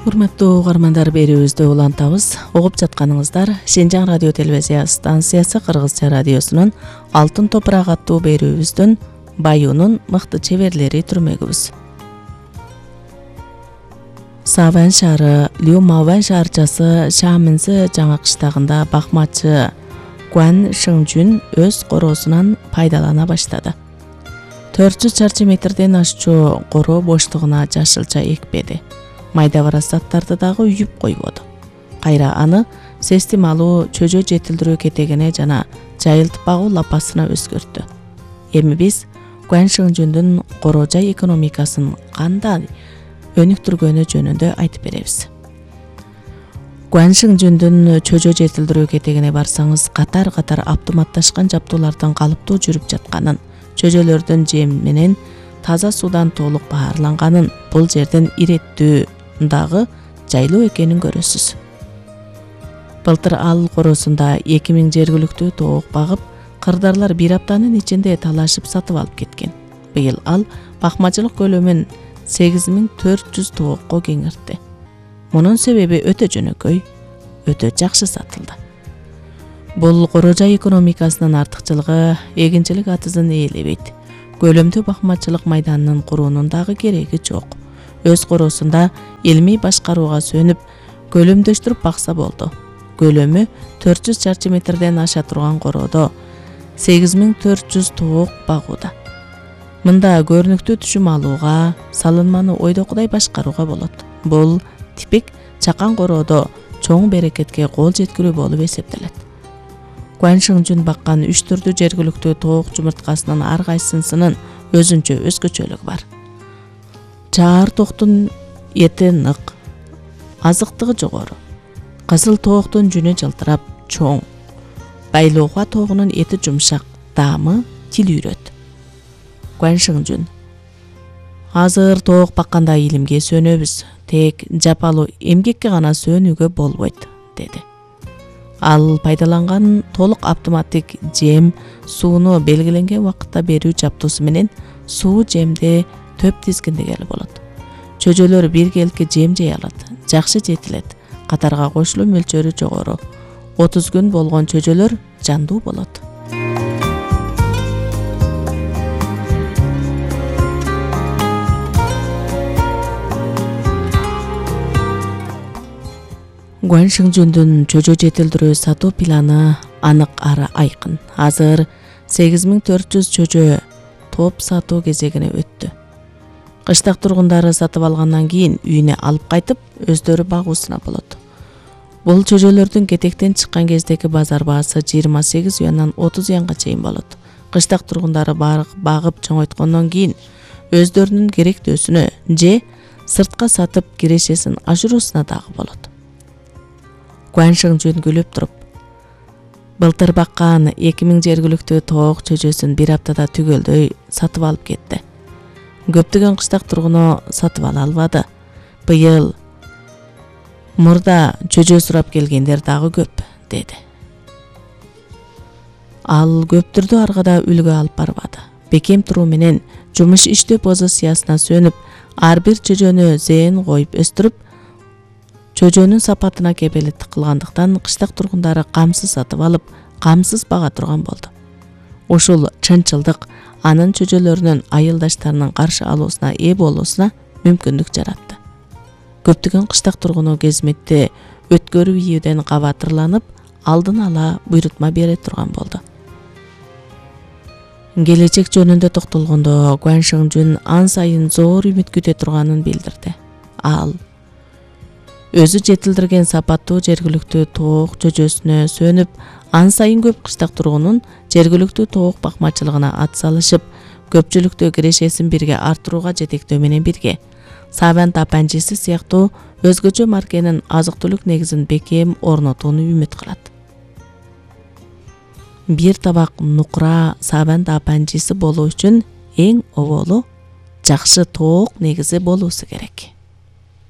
Урматтуу угармандар, берүүбүздү улантабыз. Угуп жатканыңыздар Шенжаң радио телевизия станциясы Кыргызча радиосунун Алтын топурак аттуу берүүбүздүн Баюунун мыкты чеберлери түрмөгүбүз. Саван шаары Люмаван шаарчасы Шаминси жаңы кыштагында бакмачы Гуан Шыңжүн өз короосунан пайдалана баштады. 400 чарчы метрден ашчу короо боштугуна жашылча экпеди. Майда барас заттарды дагы үйүп койбоду. Кайра аны сестим алуу, чөжө жетилдирүү кетегине жана жайылтып багуу лапасына өзгөрттү. Эми биз Гуан Шыңжүндүн короо жай экономикасын кандай өнүктүргөнү жөнүндө айтып беребиз. Гуан Шыңжүндүн чөжө жетилдирүү кетегине барсаңыз, катар-катар автоматташкан жабдуулардын калыптуу жүрүп жатканын, чөжөлөрдүн жем менен таза суудан толук баарланганын, бул жердин иреттүү дагы жайлуу экенин көрөсүз. Былтыр ал короосунда 2000 жергиликтүү тоок багып, кырдаарлар бир аптанын ичинде талашып сатып алып кеткен. Быйыл ал бакмачылык көлөмүн 8400 тоокко кеңиртти. Мунун себеби өтө жөнөкөй, өтө жакшы сатылды. Бул короо жай экономикасынын артыкчылыгы эгинчилик атызын ээлебейт. Көлөмдүү бакмачылык майданынын куруунун дагы кереги жок. Өз короосунда илмий башкарууга сөнүп, көлөмдөштүрүп бакса болду. Көлөмү 400 чарчы метрден аша турган короодо 8400 тоок багууда. Мында көрүнүктүү түшүм алууга, салынманы ойдокудай башкарууга болот. Бул типик чакан короодо чоң берекетке кол жеткирүү болуп эсептелет. Гуан Шыңжүн баккан 3 түрдүү жергиликтүү тоок жумурткасынын ар кайсынын өзүнчө өзгөчөлүгү бар. Чаар тооктун эти нык, азыктыгы жогору. Кызыл тооктун жүнү жылтырап, чоң. Байлоохуа тоогунун эти жумшак, даамы тил үйрөт. Гуан Шыңжүн: азыр тоок бакканда илимге сөнөбүз, тек жапалуу эмгекке гана сөнүүгө болбойт, деди. Ал пайдаланган толук автоматтик жем сууну белгиленген убакытта берүү жабдуусу менен суу жемди төп тизгиндегеле болот. Чөжөлөр биргеликке жем жей алат, жакшы жетилет. Катарга кошулуу мөлчөрү жогору. 30 күн болгон чөжөлөр жандуу болот. Гуан Шыңжүндүн чөжө жетилдирүү сатуу планы анык ары айкын. Азыр 8400 чөжө топ сатуу кезегине өттү. Кыштак тургундары сатып алгандан кийин үйүнө алып кайтып, өздөрү багуусуна болот. Бул чөжөлөрдүн кетектен чыккан кездеги базар баасы 28 юандан 30 юанга чейин болот. Кыштак тургундары багып чоңойткондон кийин өздөрүнүн керектөөсүнө же сыртка сатып кирешесин ашыруусуна дагы болот. Гуан Шыңжүн күлүп туруп: былтыр баккан 2000 жергиликтүү тоок чөжөсүн бир аптада түгөлдөй сатып алып кетти. Көптөгөн кыштак тургуну сатып ала албады. Быйыл мурда чөжө сурап келгендер дагы көп, деди. Ал көптүрдү аргада үлгү алып барбады. Бекем туруу менен жумуш иштөө позициясына сөнүп, ар бир чөжөнү зээн коюп өстүрүп, чөжөнүн сапатына кепелеттик кылгандыктан кыштак тургундары камсыз сатып алып, камсыз бага турган болду. Ушул чынчылдык анын чөжөлөрүнүн айылдаштарынын каршы алуусуна ээ болуусуна мүмкүндүк жаратты. Көптөгөн кыштак тургуну кезметти өткөрүп ийүүдөн кабатырланып, алдын ала буйрутма бере турган болду. Келечек жөнүндө токтолгондо Гуан Шыңжүн ан сайын зор үмүт күтө турганын билдирди. Ал өзү жетилдирген сапаттуу жергиликтүү тоок чөжөсүнө сөнүп, ан сайын көп кыштак тургунун жергиликтүү тоок бакмачылыгына ат салышып, көпчүлүктө кирешесин бирге артырууга жетектөө менен бирге Саван тапанчысы сыяктуу өзгөчө маркенин азык-түлүк негизин бекем орнотууну үмүт кылат. Бир табак нукура Саван тапанчысы болуу үчүн эң оболу жакшы тоок негизи болуусу керек.